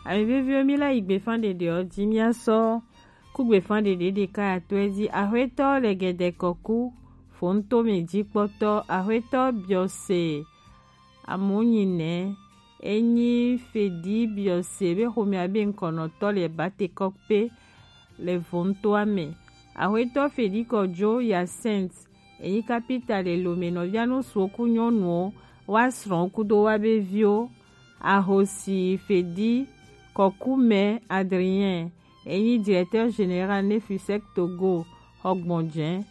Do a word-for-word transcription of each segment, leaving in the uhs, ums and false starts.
Ami veviwo, mi la yi gbefa ɖeɖe ɔ ji, mi a sɔ ku gbefa ɖeɖe ɖeka ya to e ji. Axwetɔ Lɛgɛdɛ Kɔku, Fontomɛ jikpɔtɔ, Axwetɔ Biɔse Amonyi nɛ, e nyi Fedi Biɔse be xomɛ a be ŋkɔnɔtɔ le Batekɔkpe le Vontoa mɛ. Axwetɔ Fedi Kɔjo Hyacinthe, e nyi kapita le Lomɛ. Nɔvia nusuwo ku nyɔnuwo, wa srɔ̃wo kudo wa be viwo. Ahosi Fedi Kɔkumɛ Adrien, e nyi directeur général ne Fusec Togo, xɔ gbɔnjɛ.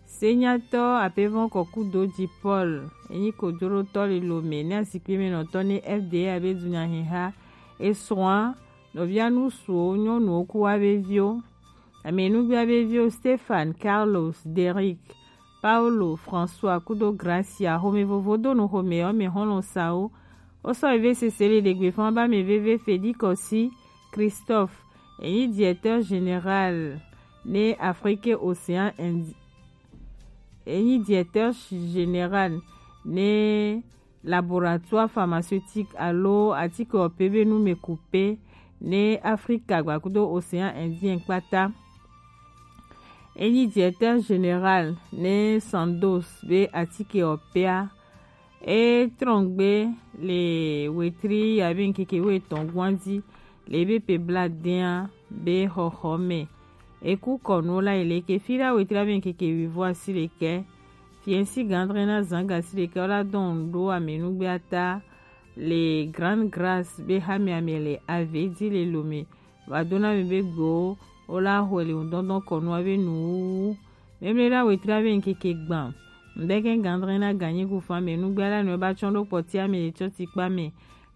Senyatɔ Apevɔn Kɔkudo Ji Paul, e nyi kojoɖotɔ le Lomɛ ne azikpimɛnɔtɔ ne F D A be dunyahiha. E srɔ̃a, nɔvia nusuwo nyɔnuwo ku wa be viwo. Amɛnugbea be viwo Stéphane, Carlos, Derrick, Paulo, François kudo Gracia, xomɛ vovo do nu xomɛ ɔ mɛ xɔlɔn sawo. Wo sɔ eve sese le ɖegbe fan ba mɛ veve Fedi Kɔsi Christophe, e nyi directeur général ne Afrique Océan Indi-, e nyi directeur général ne laboratoire pharmaceutique alo atike ɔpɛ be numɛkupe ne Afrika gbakudo Océan Indien kpata. E nyi directeur général ne Sandoz be atike ɔpɛa. E trɔngbe le wetri ya be ŋkeke wetɔn gwanji le be pe bla dɛn be xɔxɔ mɛ. E ku kɔnu la yi le ke fi la wetri ya be ŋkeke wivo asi le ke. Fiɛnsi gandre na zan gasi ɖekɛ wo la dɔn ɖo amɛnugbe ata le Grande Grâce be xamɛ amɛ le Avedi le Lomɛ. Va do na mi be gbewo wo la xɔe le ŋdɔndɔn kɔnua be nuwuwu. Mɛmlɛ la wetri ya be ŋkeke gban. Ŋdɛkɛ gandre na ganyi ku fan amɛnugbe la nɔ ba tsɔn ɖo kpɔti amɛ le tsɔ tikpa mɛ.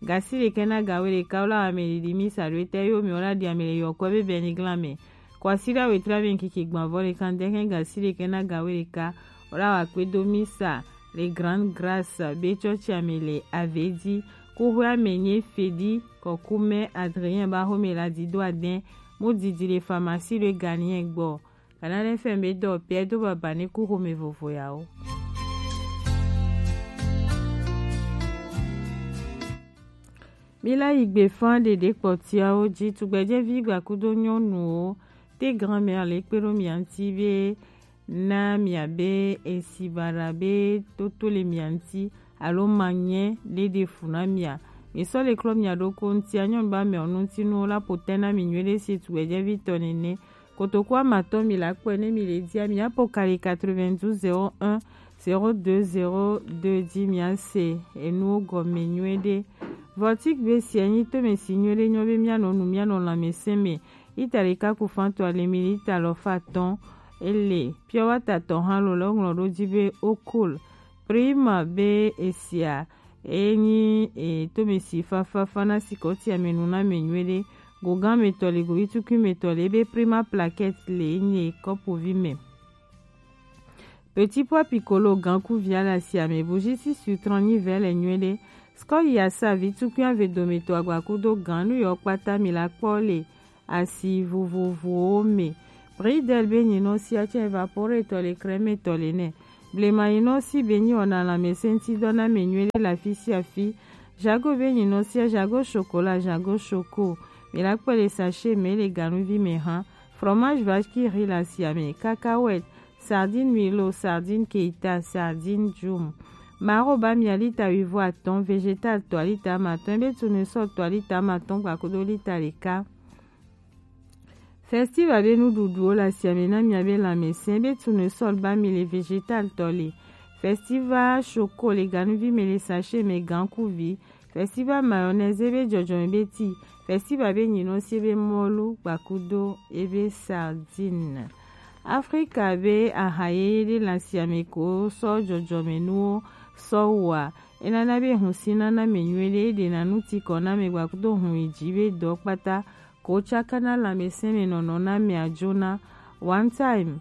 Gasi ɖekɛ na ga we ɖeka wo la wa mɛ ɖiɖi misa ɖo etɛ yo mɛ wo la ɖi amɛ le yɔkɔ be bɛni glan mɛ. Kwasida wetri ya be ŋkeke gban vɔ ɖeka ŋdɛkɛ gasi ɖekɛ na ga we ɖeka wo la wa kpe do misa le Grande Grâce be tsɔtsi amɛ le Avedi. Kuxwe amɛ nye Fedi Kɔkumɛ Adrien ba xomɛ la di do adɛn mu didi le pharmacie le Ghanien gbɔ. Kana ɖe fɛn be dɔ pɛ do baba ne ku xomɛ vovo ya o. Mi la yi gbe fan ɖeɖe kpɔtiawo ji, tugbɛjɛvi gbakudo nyɔnuwo, te grand-mère le kpe ɖo mia ŋti be na mia be esi baɖa be toto le mia ŋti alo manyɛ ɖe ɖe fu na mia. Mi sɔ le klɔ mia ɖokɔ ŋtia, nyɔnu ba mɛ ɔnu ŋti nu la potɛ na mi nyuie ɖe si tugbɛjɛvi tɔ nene. Kotoku amatɔn mi la kpɔe ne mi le dia mi apo kali quatre-vingt-douze zéro un zéro deux zéro deux ji mi ase enuwo gɔme nyuie ɖe. Vɔtik be sia nyi tome si nyuie ɖe nyɔ be mia nɔ nu mia nɔ lãmesẽ me. Lita ɖeka ku fan tɔ ale mi lita alafa atɔ̃ ele. Pure water tɔ hã lo le woŋlɔ ɖo ji be Okol. Prima be esia e nyi e, tome si fafafa na sikɔti ame nu na ame nyuie ɖe. Go gã me tɔ le, go yitukui me tɔ le, ebe Prima plaquette le enyi kɔpuvi me. Petit pois piccolo gã kuvia le asi ame, bougie si sur trente nyi vɛ le nyuie ɖe. Skɔli asa vi tukui ave dome to agba kudo gã nu yɔ kpata mi la kpɔ le asi vovovowo me. Bridel be nyinɔsia tsɛ evapore tɔ le, crème tɔ le nɛ. Blema nyinɔsi be nyi wɔna lãmesẽŋtidɔ na ame nyuie ɖe le afi sia afi. Jago be nyinɔsia, jago chocolat, jago choco. Mi la kpɔe le sachet me le ganuvi me hã. Fromage vache qui rit le asia me. Cacahuète, sardine Milo, sardine Keita, sardine Jum. Maro ba mia lita wuivo atɔ̃, végétal tɔ lita amatɔ̃, ebe tournesol tɔ lita amatɔ̃ gbakudo lita ɖeka. Festival be nuɖuɖuwo le asia me na mia be lãmesẽ, be tournesol ba mi le, végétal tɔ le. Festival choco le ganuvi me le sachet me gã kuvi. Festival mayonnaise ebe jɔjɔme be ti. Festival be nyinɔsi ebe mɔlu gbakudo ebe sardine. Afrika be aha yeye ɖe le asia me ko sɔ jɔjɔme nuwo sɔ wɔa. Enana be hun si nana ame nyuie ɖe, eɖena nu ti kɔ na ame gbakudo hun yi ji be dɔ kpata. Ko tsaka na lãmesẽ me nɔnɔ na amea jona. One time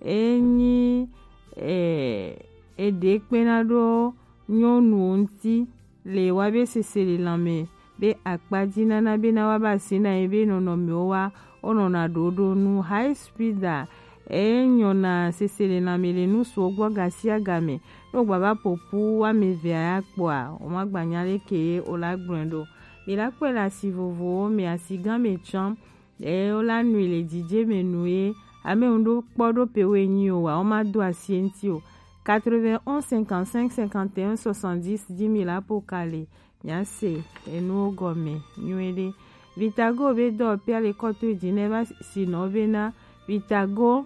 enyi e, eɖe kpena ɖo nyɔnuwo ŋti le wa be sese le lãme be akpaji nana be na wa ba si na ye be nɔnɔmewo wa wo nɔna ɖoɖo nu. High speed a e nyɔna sese le lãme le nu suwo gbɔ gasia game. Ne wo gba va popu wa me ve a ya kpɔa, wo ma gba nya leke ye wo la gblɔe ɖo. Mi la kpɔe le asi vovowo me, asigã me tsã. Eye wola nui le dzidze me nue. Ame ŋu ɖo kpɔ ɖo pe woe nyi o wa, woma do asi eŋti o. Quatre-vingt-onze cinquante-cinq cinquante et un soixante-dix dzi mi la po ka le. Miase enuwo gɔme nyuie ɖe. Vitago be dɔ pia le kɔto dzi ne va si nɔ be na Vitago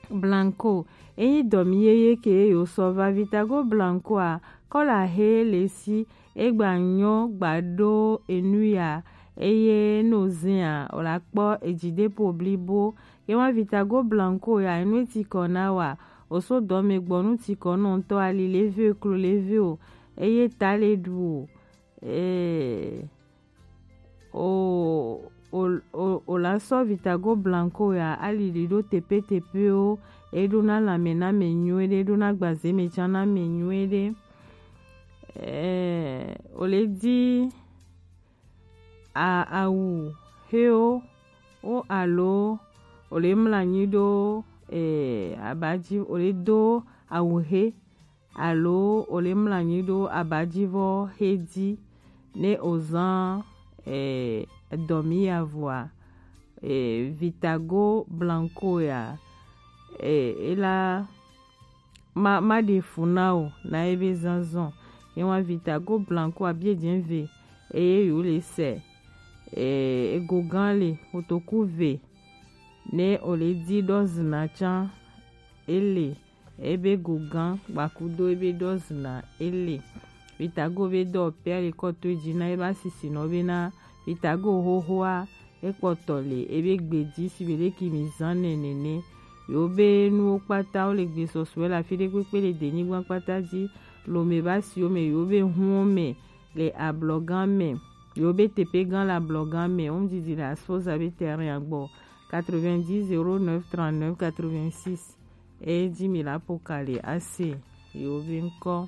Blanco. Enyi dɔmi yeye ke yo sɔ va Vitago Blanco a, kɔla he le si egba nyɔ gba ɖo enu ya, eye no zin a, o la kpɔ edzi ɖe po blibo. Ye wa Vitago Blanco ya, enu eti kɔ na wa, o so dɔme gbɔ nu ti kɔ nɔ ŋutɔ ali le ve o, klo le ve o, eye ta le ɖu o. Ee, o, o, o, o la sɔ Vitago Blanco ya ali ɖi ɖo tepetepewo, e ɖo na lãme na me nyuie ɖe, e ɖo na gbaze me tsã na me nyuie ɖe. Ee, o le di a, awu hewo wo alo o le mlɔ anyi ɖo, ee, aba dzi, o le do awu he alo o le mlɔ anyi ɖo abadzivɔ he dzi ne o zan, eh, dɔmi ya vɔa, eh, Vitago Blanco ya, eh, e la ma, ma ɖe fu na o na ebe zanzan. Ye wa Vitago Blanco a bie dze ve eye yo le se, eh, ego gan le kotoku ve ne o le di ɖɔ zina tsã ele. Ebe go gã gbakudo ebe ɖɔ zina ele. Vitago be dɔ pea le kɔto dzi na ebe asisinɔ be na Vitago xoxoa ekpɔtɔ le ebe gbe dzi si be ɖeki mi zan nɛ nene. Yo be nuwo kpata wo le gbe sɔsɔe le afi ɖe kpekpe le denyigba kpata dzi. Lome ba siwo me yo be huwo me le ablɔgã me. Yo be tepe gã le ablɔgã me. Wo didi le Asfoza be terrain agbɔ. Quatre-vingt-dix zéro neuf trente-neuf quatre-vingt-six. Edzi mi la po ka le ase yewo be ŋkɔ.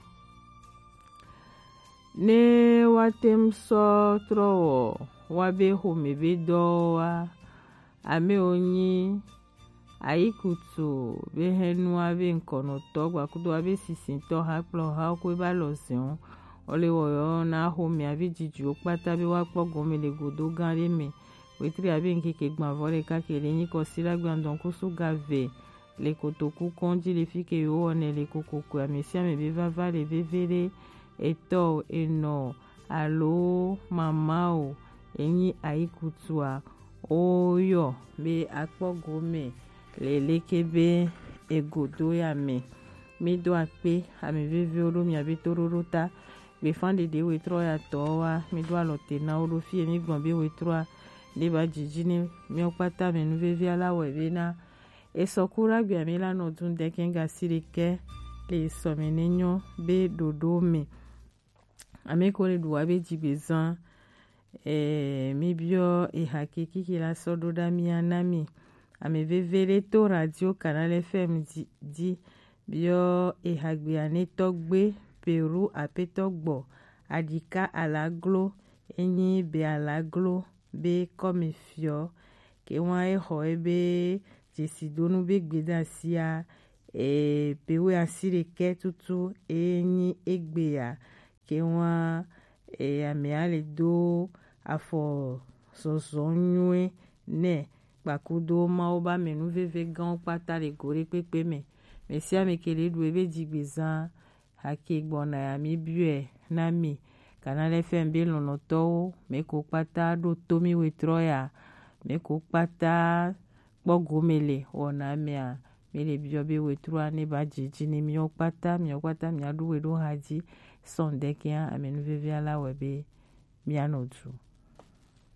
Ne woate ŋu sɔ trɔ wɔ woabe xomɛ be dɔwo wa, amewo nyi ayikutu be hɛnua be ŋkɔnɔtɔ gbakudo abe sisitɔ hakplɔhawo ko ebe alɔ zɛwo. Wole wɔyɔ na xomɛa be dzidziwo kpata be woakpɔ gɔme le godo gã ɖe me. Wetri abe ŋkeke gbãvɔ ɖeka ke le nyi kɔsi la gbe andɔn kusu ga ve le kotoku kɔn dzi le fi ke yewo wɔnɛ le kokoko. Ame sia ame be vava le veve ɖe etɔ o, enɔ o, alo mama o, enyi ayikutua, woyɔ be akpɔ gome le leke be egodo ya me. Mi do akpe ame vevewo ɖo miabe toɖoɖo ta. Gbefã ɖeɖe wetrɔ ya tɔ wa, mi do alɔ te na wo ɖo fie mi gblɔ be wetrɔa ɖe ba dzidzi ne miawo kpata me nu vevia la wɔe be na esɔ ku ɖagbe ame la nɔ dun dɛkɛ gasi ɖekɛ le sɔ me ne nyɔ be ɖoɖo me. Ame ko le ɖu wa be dzigbe zan. Eh, mi biɔ eha ke kiki la sɔ ɖo ɖa mia na mi. Ame veve ɖe to radio Canal F M dzi, dzi biɔ eha gbe ane tɔgbe Peru apetɔ gbɔ aɖika alaglo enyi be alaglo be kɔme fiɔ ke wa exɔ ebe dzesidonu be gbedasia, eh, be we asi ɖekɛ tutu enyi egbea ke wa, e, amea le do afɔ zɔzɔ nyuie nɛ kpakudo Mawu ba me nu veve gãwo kpata le go ɖe kpekpe me. Me sia me ke le ɖu ebe dzigbe zan hake gbɔna ya mi biɔe na mi. Canal F M be lɔnlɔtɔwo, me ko kpata ɖo to mi wetrɔ ya, me ko kpata kpɔ gome le wɔna mea, mi le biɔ be wetrua ne ba dzidzi ne miwo kpata, miwo kpata mia ɖu we ɖo ha dzi sɔn dɛkɛa ame nu vevia la wɛ be mia nɔ du.